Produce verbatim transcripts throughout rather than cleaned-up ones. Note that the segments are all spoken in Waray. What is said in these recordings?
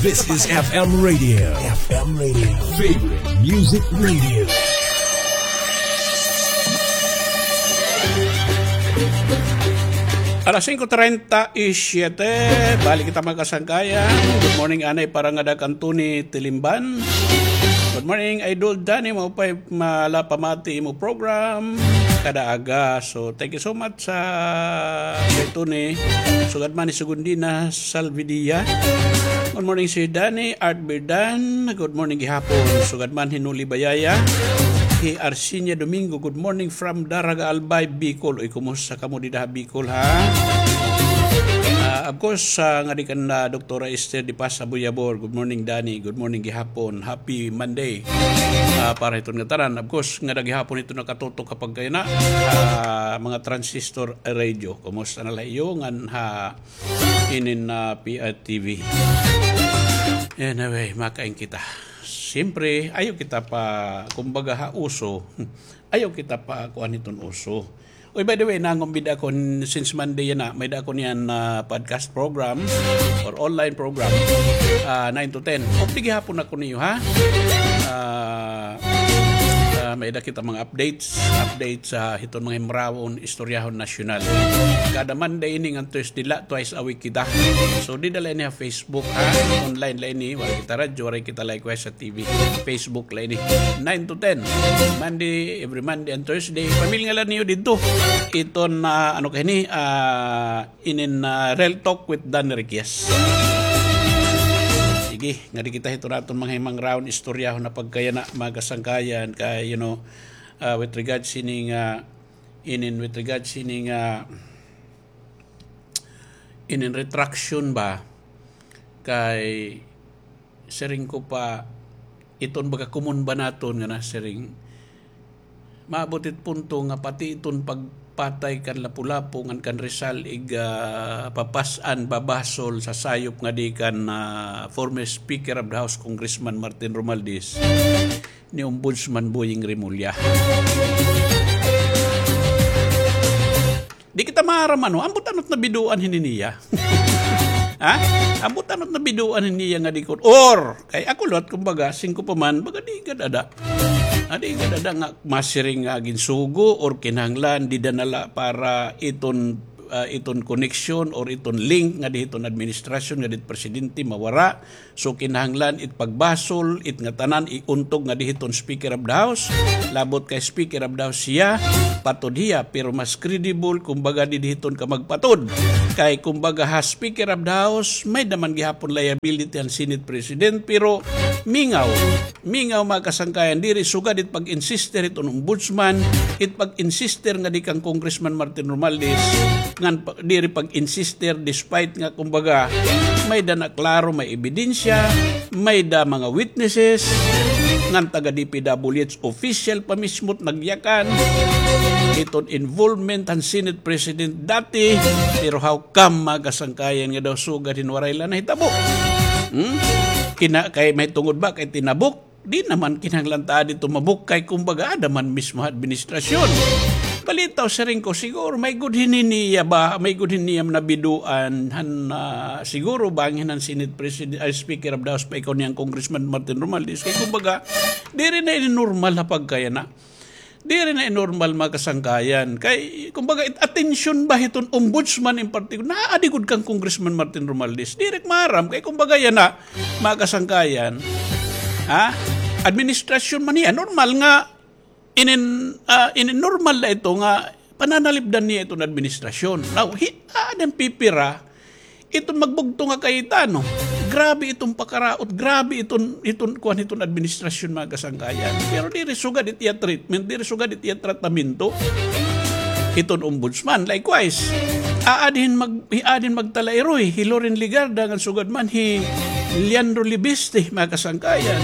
This is F M Radio. F M Radio. Favorite Music Radio. Alas singko treinta y siete, balik kita, mga kasangkayan. Good morning, anay, para ngada kan Tony Tilimban. Good morning, Idol Danny, maupay mala pamati imo program kada aga. So, thank you so much sa kay Tony. Sugad man ni Sugundina Salvidia. Good morning, si Danny Art Birdan. Good morning gihapon. Sugad man hi Nuli Bayaya. Hi Arsinia Domingo. Good morning from Daraga Albay, Bicol. Uy, kumusta kamo dida ha Bicol, ha? Ah, of course, ah, ngadi kan, ah, Doktora Esther Di Paz Abuyabor. Good morning, Danny. Good morning gihapon. Happy Monday. Ah, para hiton ngatanan. Of course, ngada gihapon hiton nakatutok ha pagkayana, ah, mga transistor radio. Kumusta na la iyo ngan ha inin, ah, P I T V? Anyway, makain kita. Siyempre, ayaw kita pa, kumbaga, ha uso. Ayaw kita pa kuan hiton uso. Uy, by the way, nangumbida ako n-, since Monday yana, may-ada ako niyan, ah, podcast program or online program, ah, nine to ten. Updi gihapon ako niyo, ha? Ah, ah, may-ada kita mga updates, updates sa hiton mga himrawon, istoryahon nasyonal. Kada Monday ini ngan Thursday la, twice a week kita. So, dida la ini ha Facebook, ha? Online la ini, waray kita radyo, waray kita likewise sa T V. Facebook la ini. Nine to ten. Monday, every Monday and Thursday. Pamilnga la niyo didto. Iton, ah, ano kay ini, ah, inin, ah, Real Talk with Dan Riquez. Sige, ngadi kita hiton aton mga himangrawon, istoryahon na pagkayana, mga kasangkayan, kay, you know, ah, with regards sini nga, inin, with regards sini nga, inin retraction ba, kay siring ko pa, iton baga common ba naton nga nasiring, maabot it punto nga pati iton pagpatay kan Lapu-Lapu ngan kan Rizal, ig, ah, papas-an, babasol sa sayop ngadi kan, ah, former Speaker of the House, Congressman Martin Romualdez, ni Ombudsman Boying Remulla. Di kita maaram, ano, ambot ano it nabidoan hini niya. Ha? Ambot ano it nabidoan hini niya nga di ko, or, kay ako liwat, kumbaga, singko pa man, baga di gad ada. Ah, di gad ada nga masiring nga ginsugo or kinahanglan, dida na la para iton, ah, iton connection or iton link ngadi hiton administrasyon, ngadi hit presidente, mawara. So, kinahanglan it pagbasol, it ngatanan, iuntog ngadi hiton Speaker of the House, labot kay Speaker of the House hiya, patod hiya, pero mas credible, kumbaga, didi hiton kamagpatod. Kay, kumbaga, ha Speaker of the House, may-ada man gihapon liability an Senate President, pero mingaw, mingaw, mga kasangkayan, diri sugad it pag-insister hiton Ombudsman, it pag-insister ngadi kan Congressman Martin Romualdez, ngan pa-, diri pag-insister despite nga, kumbaga, may-ada na klaro, may ebidensya, may-ada mga witnesses, ngan taga D P W H official pa mismo it nagyakan hiton involvement han Senate President dati, pero how come, mga kasangkayan, nga daw sugad hin waray la nahitabo? Hmm? Kina-, kay may tungod ba kay tinabok? Di naman kinahanglan ta adi tumabok kay kumbaga ada man mismo ha administrasyon. Balitaw, siring ko, siguro may-ada hini niya ba, may-ada hini niya nabidoan han, ah, siguro bangin han Senate President, ay, Speaker of the House pa ikaw niyan Congressman Martin Romualdez. Kay kumbaga, diri na ini normal ha pagkayana. Diri na ini normal, mga kasangkayan. Kay, kumbaga, it-, atensyon ba hiton ombudsman in particular? Naa adi gud kan Congressman Martin Romualdez. Diri maaram. Kay, kumbaga, yana, mga kasangkayan, ha? Administrasyon man niya. Normal nga, inin, ah, inin normal na ito nga pananalipdan niya iton administrasyon. Now, hi-, ah, adan pipira, iton magbugto nga Cayetano. Grabe iton pakaraot, grabe iton, iton, kuan, iton administrasyon, mga kasangkayan. Pero diri sugad it iya treatment, diri sugad it iya tratamento iton ombudsman. Likewise, aadin mag-, aadin magtalairoy, hi Loren Legarda, ngan sugad man hi Leandro Leviste, mga kasangkayan.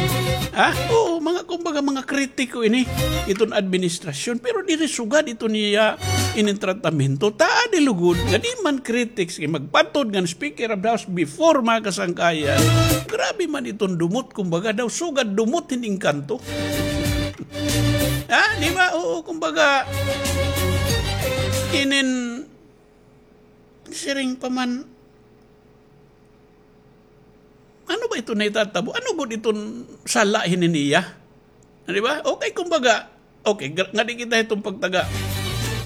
Ha? Oo, mga, kumbaga, mga kritiko ini, iton administrasyon. Pero diri sugad iton iya inin tratamento. Taadi lugod nga di man critics kay magpatod ngan Speaker of the House before, mga kasangkayan. Grabe man iton dumot, kumbaga daw sugad dumot hin engkanto. Ha, di ba? Oo, kumbaga, inin siring pa man, Ano ba iton nahitatabo? Ano gud iton sala hini niya? Di ba? Okay, kumbaga, okay, gra-, ngadi kita hiton pagtaga,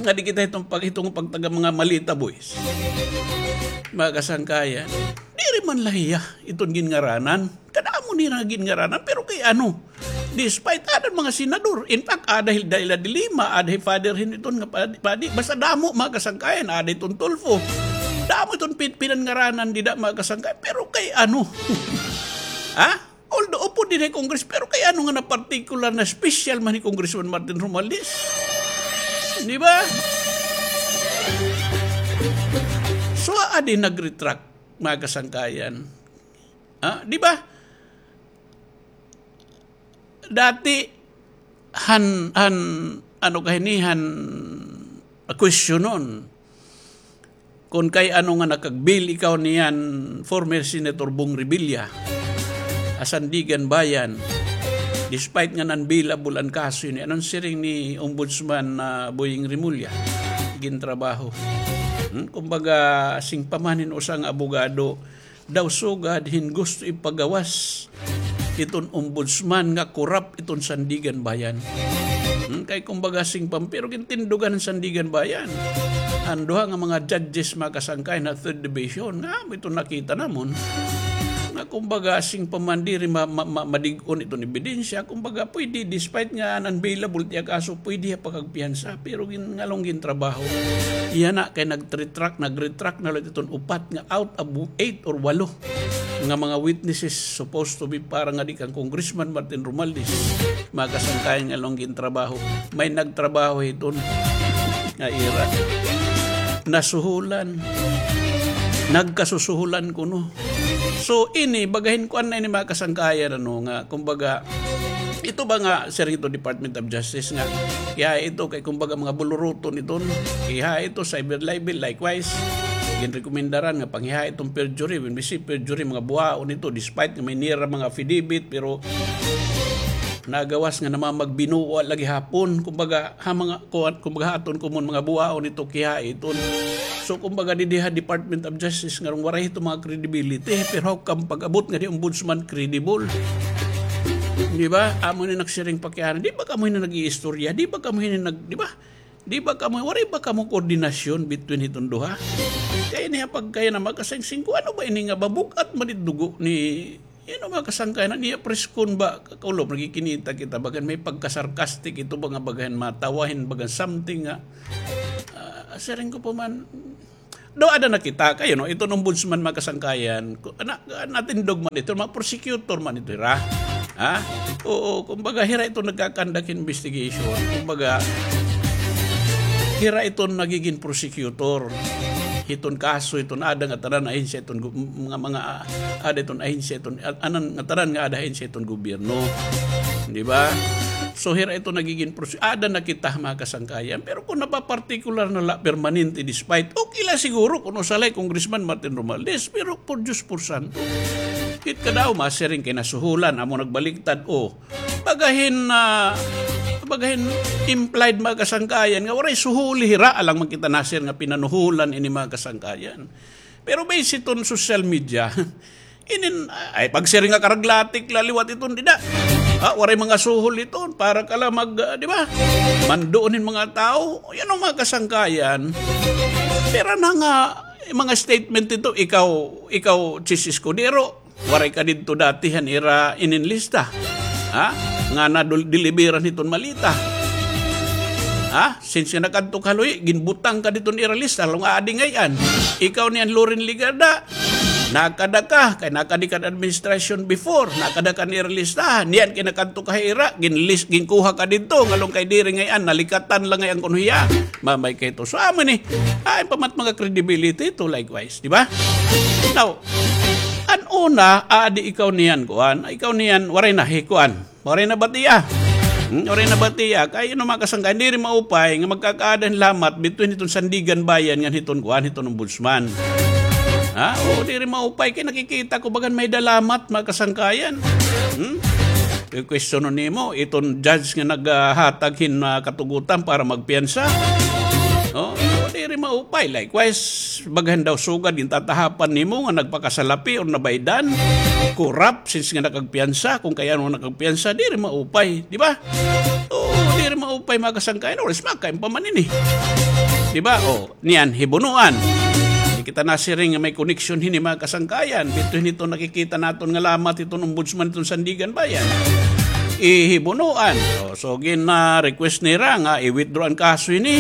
ngadi kita hiton pag-, hiton pagtaga mga Malita Boys. Mga kasangkayan, diri man la hiya iton ginngaranan. Kadamo nira nga ginngaranan, pero kay ano? Despite, ada mga senador. In fact, ada hi Leila de Lima, ada hi Father hin iton nga padi, padi. Basta damo, mga kasangkayan, ada iton Tulfo. Damo iton pin-, pinanngaranan dida, mga kasangkayan. Pero kay ano? Ha? Although, upod dinhi ha Congress, pero kay ano nga na-particular na special man hi Congressman Martin Romualdez? Di ba? So, adi nag-retract, mga kasangkayan. Ha? Di ba? Dati, han, han, ano ka hini, han, questionon. Kon kay ano nga nakag-bail ikaw niyan, former Senator Bong Revilla, ha Sandiganbayan, despite nga non-bailable an kaso ini, ano an siring ni Ombudsman, ah, Boying Remulla? Gintrabaho. Hmm? Kumbaga, siring pa man hin usa nga abogado, daw sugad hin gusto ipagawas iton ombudsman nga korap iton Sandiganbayan. Hmm, kay kumbaga siring pa man, pero gintindugan han Sandiganbayan. An duha nga mga judges, mga kasangkayan, ha third division, nga amo iton nakita namon. Nga kumbaga siring pa man diri ma-, ma-, ma-, madig-on iton ebidensya. Kumbaga pwede, despite nga non-bailable it iya kaso, pwede hiya pakagpiyansa. Pero gin-, nganong gintrabaho? Iya na kay nag-retract, nag-retract na la iton upat nga out of eight or walo nga mga witnesses supposed to be para ngadi kan Congressman Martin Romualdez, mga kasangkayan, nganong gintrabaho. May nagtrabaho hiton nga ira. Nasuhulan. Nagkasusuhulan kuno. So, ini, bagahin kuan na ini, mga kasangkayan, ano, nga, kumbaga, ito ba nga, siring iton Department of Justice nga, kiha ito kay, kumbaga, mga buluruton iton, kiha ito, cyber libel, likewise, ginrekomendaran nga panghiha iton perjury, when we say perjury, mga buhaon ito, despite nga may nira mga affidavit, pero nagawas nga namamagbinuwa la gihapon, kumbaga, ha mga, kuan, kumbaga, ha aton common mga buhaon ito, kiha iton. So, kumbaga, didi ha Department of Justice, nganong waray ito mga credibility, pero how come pag-abot ngadi Ombudsman credible? Di ba? Amo ni nagsiring pa kay ana, di ba kamo hini nag-iistorya? Di ba kamo hini nag-, di ba? Di ba kamo, waray ba kamo koordinasyon between hiton duha? Kay niya pagkaya na makasingsing ko, ano ba ini nga mabug-at man it dugo ni, you know, mga kasangkayan, niya preskon ba, kakulop, nagkikinita kita, bagan may pagka-sarcastic ito, ba nga bagan matawa hin, bagan something nga, ah, siring ko pa man, do ada na kita, kay, you know, iton ombudsman, mga kasangkayan, ku-, na-, natindog man ito, mga prosecutor man ito, hira. Ha? Oo, kumbaga, hira ito nagkakandak investigation. Kumbaga, hira ito nagigin prosecutor. Hiton kaso, hiton ada nga tanan ahensya, hiton gu-, mga, mga, ah, ada hiton ahensya, hiton, ah, anan nga tanan nga ada ahensya, hiton gobyerno. Di ba? So, hira ito nagigin prose-, ada na kita, mga kasangkayan. Pero kung napapartikular na la, permanente, despite, okay la siguro kung usa la hi Congressman Martin Romualdez, pero por Diyos, por santo. It kadaw, masiring kay nasuhulan, amo nagbaligtad, o. Bagahin, ah, bagahin implied, mga kasangkayan, nga waray suhuli hira, alang man kita nasiring nga pinanuhulan ini, mga kasangkayan. Pero based hiton social media, inin, ay, pagsiring nga karaglatik la liwat iton dida. Ah, waray mga suhol iton, para ka la mag, ah, di ba? Manduon hin mga tawo, yan an mga kasangkayan. Pero na nga, mga statement ito, ikaw, ikaw, Chiz Escudero, waray ka didto dati han ira inin lista. Ha? Nga nadul-, deliveran hiton malita. Ha? Since nga nakadto ka ha Loihi, ginbutang ka didto han ira lista, nganong aadi ngay-an. Ikaw niyan Loren Legarda, nakada ka, kay nakadi ka han administration before, nakada ka han ira listahan, niyan kay nakadto ka ha ira, ginlis-, ginkuha ka didto, nganong kay diri ngay-an, nalikatan la ngay-an kuno hiya. Mamay kay ito. So, amo ni, ay, pamat mga credibility ito, likewise, di ba? Now, an una, aadi ikaw niyan, kuan, ikaw niyan, waray na, hi, kuan. Waray na batia. Hmm, waray na batia. Kay ano, mga kasangkayan, diri maupay nga magkakaada hin lamat between hiton Sandiganbayan ngan hiton kuan, hiton ombudsman. Ha? O, diri maupay kay nakikita ko bagan may-ada lamat, mga kasangkayan. Hmm? Kay question nimo, iton judge nga naghatag hin, ah, katugutan para magpiyansa. O, o, diri Maupay. Likewise, bagahan daw sugad gintatahapan nimo nga nagpakasalapi or nabaydan, corrupt, since nga nakagpiyansa, kung kay ano nakagpiyansa, diri maupay, di ba? Oo, diri maupay, mga kasangkayan, or is makain pa man ini. Di ba? O, niyan, hibunuan. Di kita nasiring nga may connection hini, mga kasangkayan. Dito hini to nakikita naton nga lamat iton ombudsman iton Sandigan Bayan. Ihibunuan. O, so, gina-request nira nga i-withdraw an kaso hini.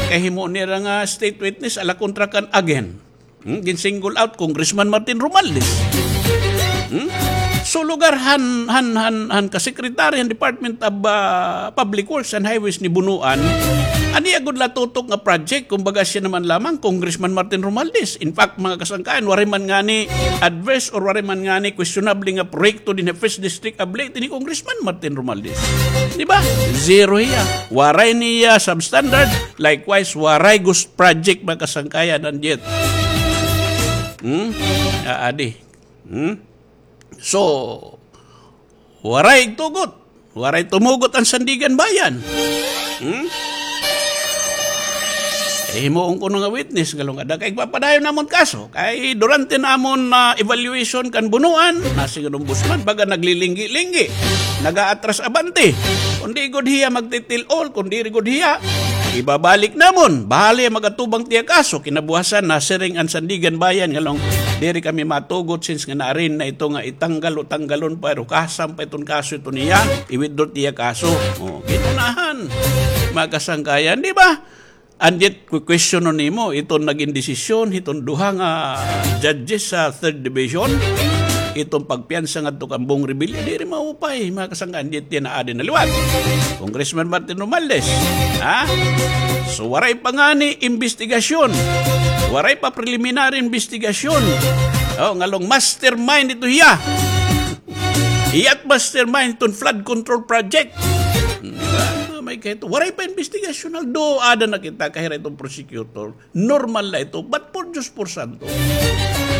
Kay himo nira nga state witness, ala kontra kan again. Hmm? Gin-single out Congressman Martin Romualdez. Hmm? So, lugar han, han, han, han ka-secretary han Department of, ah, Public Works and Highways ni bunuan, an iya gud la tutok nga project, kumbaga siya naman lamang, Congressman Martin Romualdez. In fact, mga kasangkayan, waray man ngani adverse or waray man ngani questionable nga proyekto dinhi ha First District of Leyte ni Congressman Martin Romualdez. Di ba? Zero hiya. Waray niya substandard. Likewise, waray ghost project, mga kasangkayan, an jet. Hmm? Aadi. Hmm? So, waray tugot. Waray tumugot an Sandigan Bayan. Hmm? Eh, himuon kuno nga witness, ngalong ada kay papadayon namon kaso. Kay durante namon, ah, evaluation kan bunuan, nasiring an ombudsman, baga naglilinggi-linggi, nag-aatras abante. Kung di gud hiya magtitil-ol, kung diri gud hiya, ibabalik namon. Bahala hiya mag-atubang tiya kaso. Kinabuwasan, nasiring an Sandigan Bayan, ngalong diri kami matugot since nga naarin na ito nga itanggal o tanggalon pa, pero kasam pa iton kaso ito niya, i-withdraw tiya kaso. O, ginunahan. Mga kasangkayan, di ba? And yet, ku-, questionon nimo, iton nagin desisyon, iton duha nga judges sa third division, iton pagpiyansa ngadto kan Bong Revilla, diri maupay, mga kasangkayan, and yet, yana adi na liwat. Congressman Martin Romualdez, ha? So, waray pa ngani imbestigasyon. Waray pa preliminary investigation. O, ngalong mastermind ito hiya. Hiya't mastermind iton flood control project. Hmm, di ba? May kahit, waray pa investigasyon, although ada na kita, kahira iton prosecutor. Normal na ito. But por Diyos, por santo.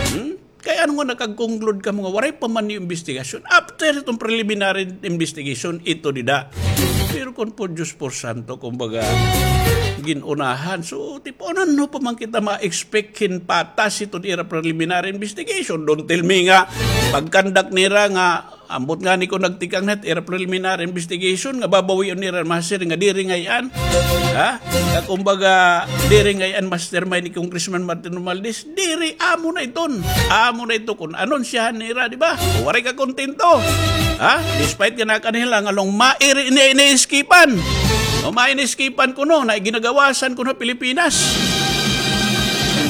Hmm? Kay ano nga nakag-conclude ka mga waray pa man yung investigasyon? After itong preliminary investigation, ito dida. Pero kung por Diyos, por santo, kumbaga, ginunahan. So, tipo, ano pa man kita ma-expect hin patas iton ira preliminary investigation? Don't tell me nga, pag-conduct nira nga, ambot ngani ko nagtikang na it ira preliminary investigation nga babawion nira, masiring nga diri ngay-an. Ha? Nga kumbaga, diri ngay-an mastermind ni Congressman Martin Romualdez. Diri, amo na iton. Amo na ito kun anonsyahan nira, di ba? Waray ka kontento. Ha? Despite nga nakanila nga long mairi ini, ini-iskipan. O, maini-iskipan kuno, na ginagawasan kuno Pilipinas.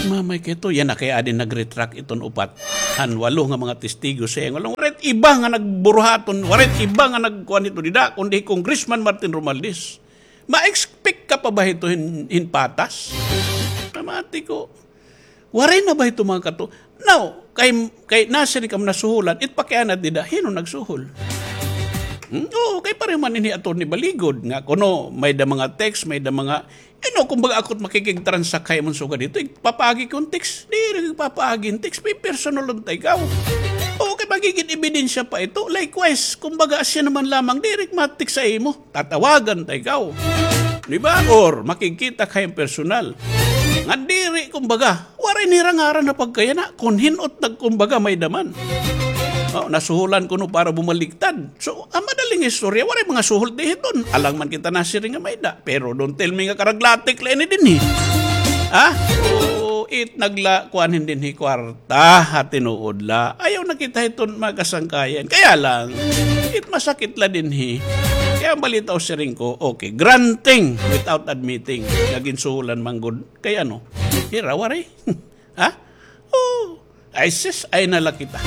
Mamay kay ito, yana kay adi nag-retract iton upat. Han walo nga mga testigo sa iya nga lang, waray iba nga nagburuhaton, waray iba nga nagkuan hito dida, kundi Congressman Martin Romualdez. Ma-expect ka pa ba hito hin, hin patas? Pamati ko, waray na ba hito mga kato? Now, kay, kay nasiring kamo nasuhulan, it pakianat dida, hin-o nagsuhol? Hmm? Oo, kay pareho man ini Attorney Baligod, nga kuno, may da mga text, may da mga You know, kumbaga, ako it makikig-transact kay man sugad dito, igpapaagi ko hin text. Diri igpapaagi hin text, may personal unta ikaw. O, kay magigin ebidensya pa ito. Likewise, kumbaga, asya naman lamang, diri ma-text sa imo. Tatawagan ta ikaw. Di ba? Or, makikita kay personal. Nga diri, kumbaga, waray nira ngaran na pagkayana. Kun hin-o it nagkumbaga, may da man. O, nasuhulan kuno para bumaliktad. So, an madaling istorya, waray mga suhol ti hiton. Alang man kita nasiring nga may da. Pero don't tell me nga karaglatik la ini dinhi. Ha? Oo, it nagla, kuan hin dinhi kwarta, ha tinuod la. Ayaw na kita hiton mga kasangkayan. Kaya lang, it masakit la dinhi. Kaya an balita o siring ko, okay, granting without admitting. Nagin suhulan man gud. Kay ano? Hira, waray. Ha? Oh, ay sis, ay na la kita.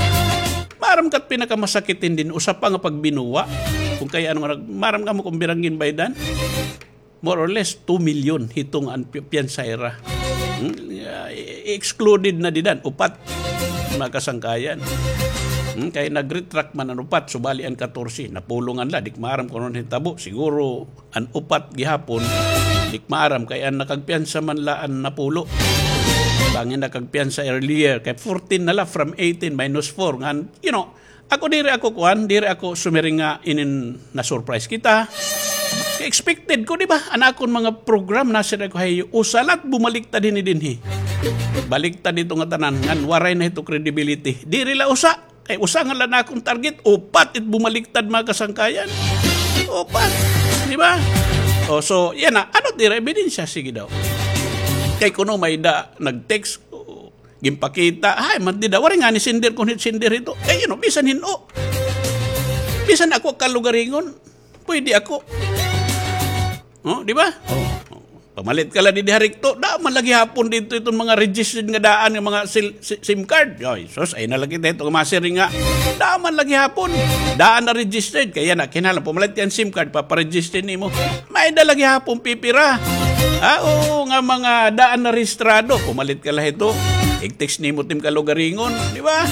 Maaram ka it pinakamasakit hini, usa pa nga pagbinuwa. Kung kay ano nga nag-, maaram kamo kung pira an ginbaydan? More or less, two million hiton an pi-, piyansa hira. Hmm? Ah, i-, excluded na dida an upat, mga kasangkayan. Hmm? Kay nag-retract man an upat, subali an katorse, napulongan la, di ko maaram kung ano nahitabo. Siguro, an upat gihapon, di ko maaram kay an nakagpiyansa man la an napulo. Bangin nakagpiyansa earlier, kay fourteen na la from eighteen minus four. Ngan, you know, ako diri ako kuan, diri ako sumiring nga inin na-surprise kita. Expected ko, di ba? An akon mga program, nasiring ko, hay, usa la it bumaliktad hini dinhi. Baliktad ito nga tanan, ngan waray na ito credibility. Diri la usa. Kay usa nga la an akon target, upat it bumaliktad, mga kasangkayan. Upat. Di ba? O, so, yana. Ano it ira ebidensya? Sige daw. Kay kuno may-ada nag-text, o, ginpakita. Hay, man dida, waray ngani sender kon hin-sender ito. Kay, you know, bisan hin-o. Bisan ako kalugaringon, pwede ako. O, di ba? O. Pamalit ka la didi ha Recto, daan man la gihapon didto iton mga registered nga daan nga mga sil-, si-, SIM card. Ay, sus, ay na la kita hito nga masiring nga. Daan man la gihapon. Daan na registered. Kay yana, kinahanglan pamalit ka hin SIM card, paparegister nimo. May-ada la gihapon pipira. Ha, oo, nga mga daan na rehistrado. Pumalit ka la hito. Ig-text nimo tim kalugaringon, di ba?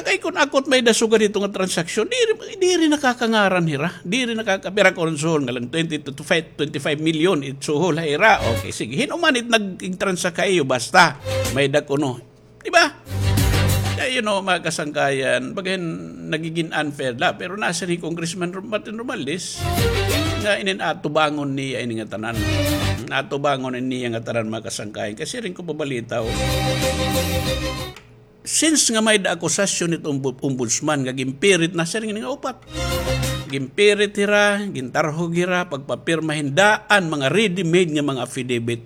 Kay kon ako it may-ada sugad hito nga transaksyon, diri, diri nakakangaran hira. Diri nakaka-, pira kon suhol nga la twenty to five, twenty-five million it suhol ha ira. Okay, sige. Hin-o man it nag-, ig-transact ha iyo, basta may-ada kuno. Di ba? Kay, you know, mga kasangkayan, baga hin nagigin unfair la. Pero nasiring hi Congressman Ro-, Martin Romualdez, nga inin atubangon niya ini nga tanan. Atubangon niya nga tanan, mga kasangkayan. Kay siring ko pabalitaw, since nga may-ada akusasyon it ombu-, ombudsman nga ginpirit, nasiring ini nga upat. Ginpirit hira, gintarhog hira, pagpapirma hin daan, mga ready-made nga mga affidavit.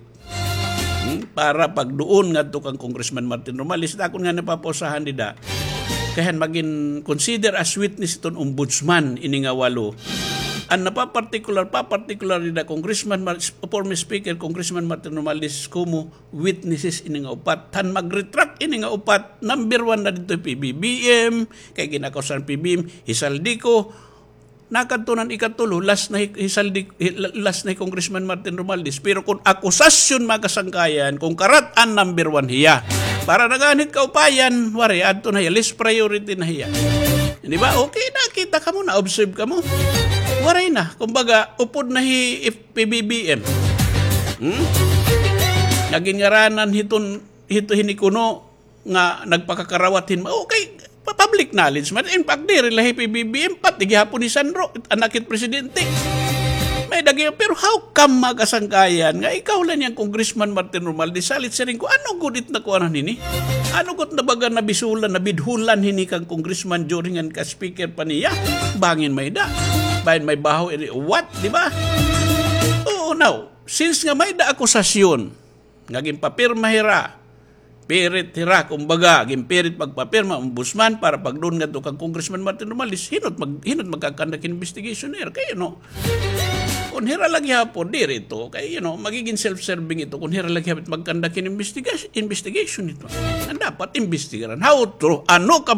Hmm, para pagduon ngadto kan Congressman Martin Romualdez, akon nga napapausahan dida. Kay han magin consider as witness iton ombudsman ini nga walo. An napapartikular, papartikular dida Congressman Mar-, former Speaker Congressman Martin Romualdez como witnesses ini nga upat. Han mag-retract ini nga upat, number one na didto P B B M, kay gin-akusar PBBM, hi Zaldy Co. Nakadto na an ikatulo, last na hi, hi Zaldy, hi, la-, last na hi Congressman Martin Romualdez. Pero kon akusasyon, mga kasangkayan, kon karat-an, number one hiya. Para nag-anhit kaupayan, waray, adto na hiya, less priority na hiya. Di ba? Okay, nakita kamo, na-observe kamo. Waray na. Kumbaga, upod na hi P B B M. Hmm? Nagingaranan hiton, hito hini kuno, nga nagpakakarawat hin ma-, okay, pa-, public knowledge man. In fact, diri la hi P B B M, pati gihapon hi Sandro, anak hit presidente. May-ada gihap, pero how come, mga kasangkayan, nga ikaw la ini nga Congressman Martin Romualdez, salit siring ko, ano gud it nakuanan hini? Ano gud na baga nabisulan, nabidhulan hini kan congressman during an ka-speaker pa niya? Bangin may-ada. Bangin may baho, iri, what, di ba? Oo, now, since nga may-ada akusasyon, nga ginpapirma hira, pirit hira, kumbaga, ginpirit pagpapirma, ombudsman, para pagduon ngadto kan Congressman Martin Romualdez, hin-o it mag-, hin-o it magkakandak hin investigation hira, kay, you know, kon hira la gihapon, diri ito, kay, you know, magigin self-serving ito, kon hira la gihapon it magkandak hin investiga-, investigation ito. An dapat imbestigaran, ha utro, ano ka